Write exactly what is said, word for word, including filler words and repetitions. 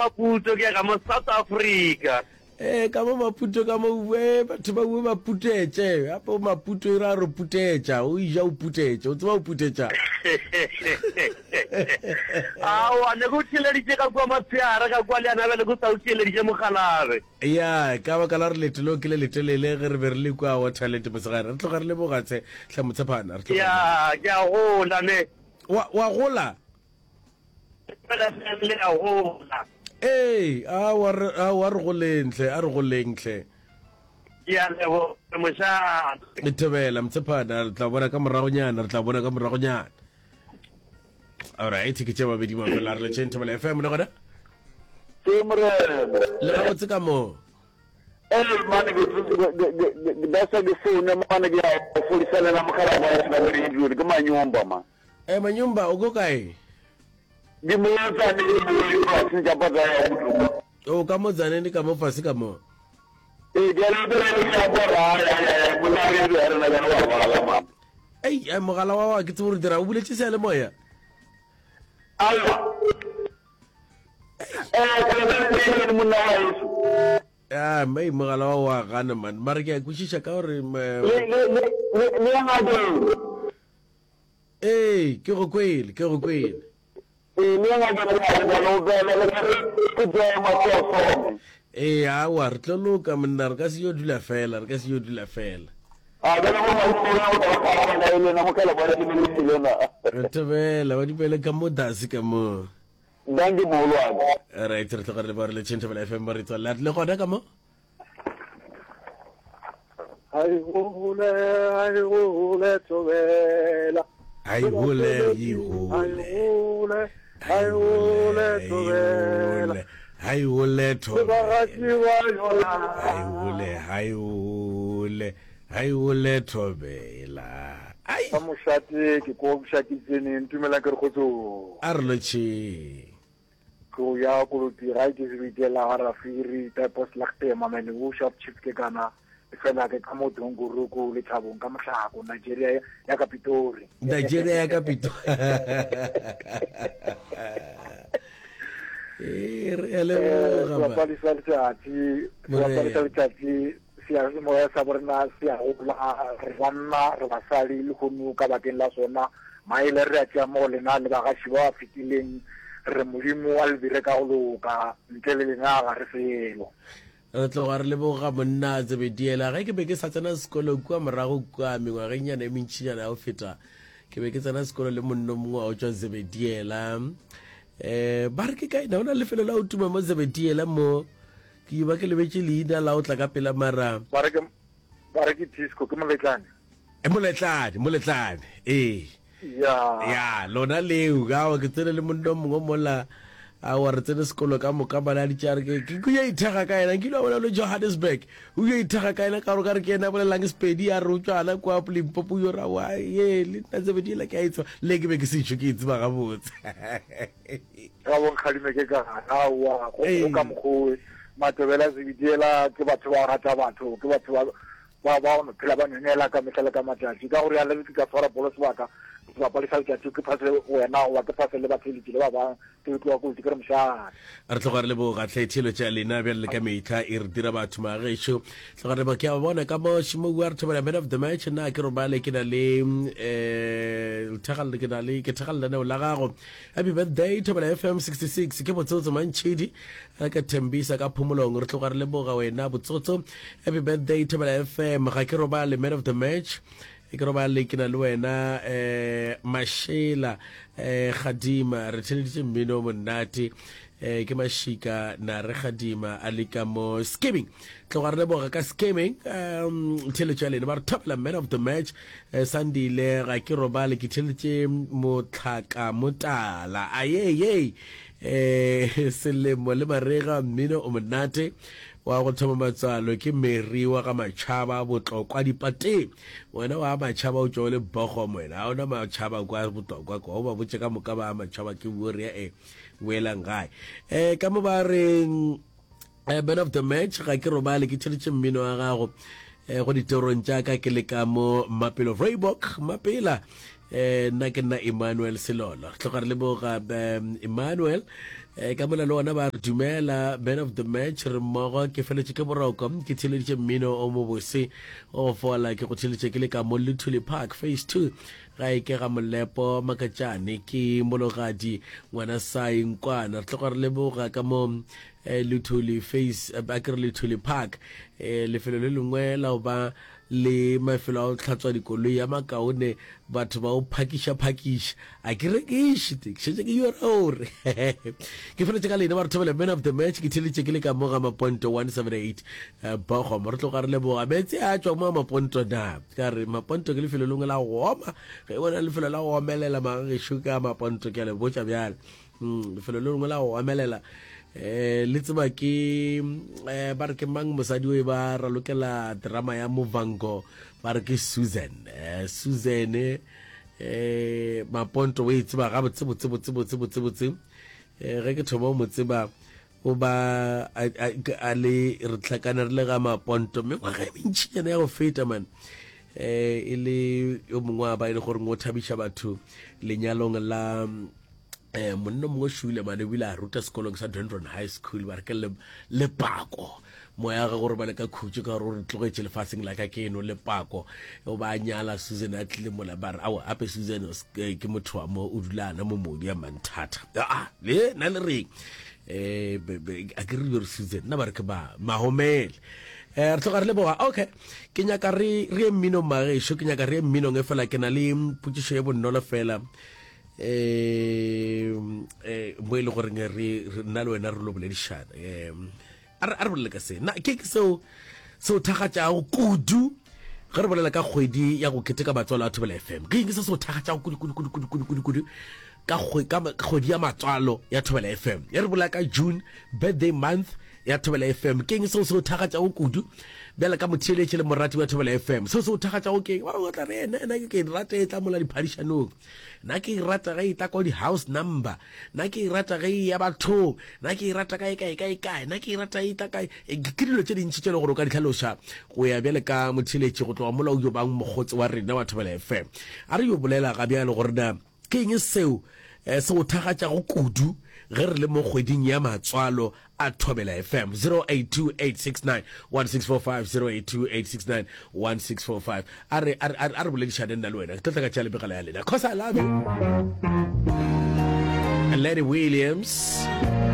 Maputo, ke ya ka mo South Africa. Ee, ka mo Maputo ka mo we batho ba we ba putetše. Gape o Maputo e ra re putetša, o ija o putetše, o tseba o putetša. Aowa, ne ke o theeleditše ka kua motshehare ka kua le yana bjale ke sa o theeleditše mokgalabje. Ya, ka baka la gore leeto leo ke le letelele ge re be re le kua Waterland mosegare. Re tloga re leboga tshe, hle Motshephana, re tloga re leboga. Ya, ke a gola ne. Wa, wa gola? Fela le a gola. Ee, aowa re, aowa re goleng hle, a re goleng hle. Ke a leboga mošate. Thobela, Motshephana, re tla bona ka moragonyana, re tla bona ka moragonyana. Alright, ke tše mabedi mafela, re letšeng Thobela F M le gona. Ke morena. Le gabotse ka mo. Ee, mane ke ke ke dasa ke foune mane ke ya fodisa le na mogala wa ka radio ke manyumba ma. Eh manyumba o go kae? Ke mo tsane ke mo fase tša pata ya botlhokwa. O ka mo tsane ka mo fase ka mo. Ee, ke le ke le ya bora ya ya ya mo na re re na ya wa bala ma. Ei, eh, mogala wa wa ke tsebo re dira o buletše seyalemoya. Aowa. Eh, ke le ke monna wa heso. Ah, mei mogala wa wa gana man. Mara ke a kwešiša ka gore le le le le ya ngakeng. Ee, ke go kwele, ke go kwele. Ee, le ya ngakeng le ba lo bela le re ke tsaya masosone. Ee, aowa, re tlo loka monna, re ka se yo dula fela, re ka se yo dula fela. A bjale mo maipelo o tla ba ka e lena mokala ba le le lena. Re thobela, ba dipele ka mo dase ka mo. Danke mogolwane. Right, re tloga re leboga re le Thobela F M ba re tswalela le gona ka mo. Hai hole, hai hole thobela. Hai hole, hai hole. Hai hole, thobela. Hai hole thobela. Hai hole, hai hole. Hai hole thobela. Ai. Ka mošate ke ko mošate tsene ntumela ke re kgotso. A re lotšhe. Tlo ya koloti ga ke sebitela ga rafiri typos lagte mamene wo sharp chief ke kana fela ke ka mo Dongoruku le Thabong ka mohlako Nigeria ya ka Pitori. Nigeria ya ka Pitori. Eh re a leboga. Sebapadi sa letsatsi, sebapadi sa letsatsi seyalemoya sa borena se a gola, re banna re basadi le kgono ka bakeng la sona maele re a tšea mo go lena le bagaši ba ba fetileng, re Modimo a le dire ka go loka, ntle le lena ga re selo. Re tloga re leboga monna Zebediela. Ge ke be ke sa tsena sekolo kua morago kua mengwagengnyana e mentšinyana ya go feta, ke be ke tsena sekolo le monno mongwe wa go tšwa Zebediela. Um ba re ke kae na o na lefelo la go tuma mo Zebediela mo? Ke ba ke lebetše leina la o tla ka pela mara. Ba re ke ba re ke disco ke moletlane. E moletlane, moletlane. Ee. Ya. Ya, lona leo ka ke tsene le monno mongwe mola a wa re tsene sekolo ka moka bana di tšare ke ke yo ithega ka yena ke ile bona le Johannesburg o yo ithega ka yena ka gore ka re ke yena bolelang Sepedi a re o tšwana kwa Limpopo yo ra wa ye le nna Zebediela ke a itseba le ke be ke sešo ke itseba gabotse. Ga bonkgadime ke ka aowa go ka mokgowe Matobela Zebediela ke batho ba rata batho ke batho ba ba ba no phela ba nonela ka mehla le ka matšatši ka gore ya le ke ka tshwara bolo sebaka sebapadi sa letšatši ke phase wena goba ke phase le batheletši le ba bang ke tloga kotsi ke re mošate. Re tloga re leboga hle thelo tša lena bjale le ka mehla e re dira batho magešo. Tloga re leboga ke a bona ka mo Šimoua re thobela man of the match nna ke robale ke na le eh lethagalla ke na le ke thagalla lenaneo la gago. Happy birthday Thobela F M sixty-six ke Botsotso Mantšhidi re ka thembisa ka phomolong re tloga re leboga wena Botsotso. Happy birthday Thobela F M ga ke robale man of the match ke robale ke na le wena eh Mashela eh Gadima re theleditše mmino monate eh ke Mashika na re Gadima a le ka mo skimming tloga re leboga ka skimming um theletšo ya lena ba re thobela man of the match eh, Sandile ga ke robale ke theletše motlhaka motala ayeye eh selemo le marega mmino o monate wa go thoma matswalo ke Mary wa ga Matšhaba Botlokwa dipateng wena wa Matšhaba o tšwa le bogo wena ga ona Matšhaba kwa Botlokwa kwa o ba botše ka moka ba Matšhaba ke bore e boelang gae eh ka mo ba reng eh, man of the match ga ke robale ke theletše mmino wa gago eh go ditorong tša ka ke le ka mo Mapelo Reebok Mapela Eh, nna ke nna Emmanuel Selolo. Re tloga re leboga um, Emmanuel. Eh, ka mola le ona ba re dumela man of the match re mmogo ke feletše ke boroko ke theleditše mmino o mobose o go fola ke go theleditše ke le ka mo Luthuli Park phase two ga e ke ga Molepo Makatšane ke mologadi ngwana sai nkwana re tloga re leboga ka mo eh, Luthuli phase eh, a ke re Luthuli Park eh, lefelo le lengwe la go ba le mafelo a go hlatswa dikoloi a makaone batho ba o phakiša phakiša a ke rekiše te ke šetše ke yora gore ke feletše ka lena ba re thobela man of the match ke theletše ke le ka mo ga Maponto one seven eight eh, Bogom re tloga re leboga meetse a tšwa mo ga Maponto na ka re Maponto ke lefelo lengwe la go oma ge bona lefelo la go omelela magagešo ka Maponto ke a le botša bjale mm, lefelo le lengwe la go omelela eh le tseba ke eh ba re ke mang mosadi o e ba ralokela drama ya Movango ba re ke Susan eh Susan eh Maponto o e tseba ga botse botse botse botse botse botse eh ge ke thoma mo tseba o ba a le re tlhakane re le ga Maponto mengwaga e mentšinyana ya go feta man eh e le yo mongwe wa ba e le gore o thabiša batho lenyalong la eh monna mongwe šule mane o bile a ruta sekolong sa Dendron High School ba re ke lepako moya ga gore ba le ka khutšo ka gore o re tlogetše lefaseng la ka ke eno lepako o ba nyala Susan a tlile mola ba re aowa ape Susan ke motho wa mo o dula ana mo modi ya manthata a le na le reng eh a ke re re Susan nna ba re ke ba mahomele eh re tloga re leboga okay ke nyaka re re ye mminong magešo ke nyaka re ye mminong e fela ke na le potšišo ye bonolo fela eh eh mo e le goreng re nna le wena re lo boledišana eh a re bolele ka se na ke ke seo seo thagatšago kudu ge re bolela ka kgwedi ya go keteka matswalo a Thobela F M ke eng se seo thagatšago kudu kudu kudu kudu kudu kudu kudu ka kgwedi ya matswalo ya Thobela F M ya re bolela ka June birthday month ya Thobela F M ke eng seo seo thagatšago kudu bjale ka motheeletše le morati wa Thobela F M seo seo thagatšago ke eng ba bangwe tla re ena ena ke ke rata e tla mola diphadišanong nna ke e rata ge e tla kwa di-house number nna ke e rata ge e ya bathong nna ke e rata kae kae kae kae nna ke e rata e tla kae ke dilo tše dintši tše le gore o ka di hlaloša go ya bjale ka motheeletše go tloga mola o yo bang mokgotsi wa rena wa Thobela F M a re yo bolela ga bjale gore na ke eng seo se go thagatšago kudu ge re le mo kgweding ya matswalo a Thobela F M zero eight two eight six nine one six four five zero eight two eight six nine one six four five a re a re boledišane nna le wena ke tlo tla ka tšea lebegelo ya lena cause I love you Lenny Williams.